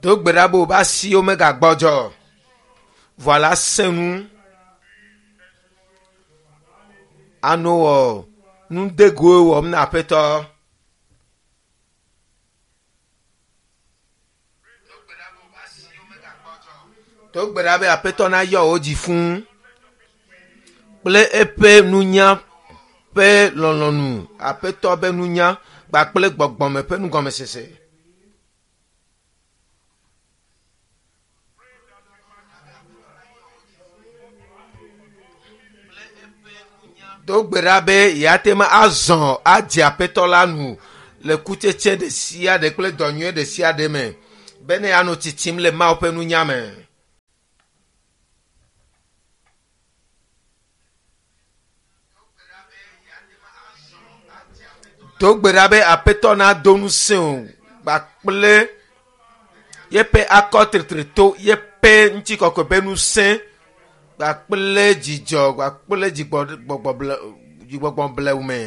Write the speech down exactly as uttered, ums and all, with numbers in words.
Do gbe ɖa be wobe asiwo megagbɔdzɔ o. Vɔa la sẽ nu ano wɔ nudegoe wɔm na aƒetɔ. Do gbe ɖa be aƒetɔ nayɔ wò dzi fũu kple eƒe nunya ƒe lɔlɔ̃nu, aƒetɔ ƒe nunya kpakple gbɔgbɔme ƒe nugɔmesese. Do gbe ɖa be yeate ŋu azɔ adze aƒetɔ la nu le kutsetse ɖe sia ɖe kple dɔ nyui ɖe sia ɖe me bene yeanɔ tsitsim le Mawu ƒe nunya me. Do gbe ɖa be aƒetɔ nado ŋusẽ wò kpakple yeƒe akɔtritre to yeƒe ŋutikɔkɔe ƒe ŋusẽ kpakple dzidzɔ kpakple dzigbɔgbɔ blewu me.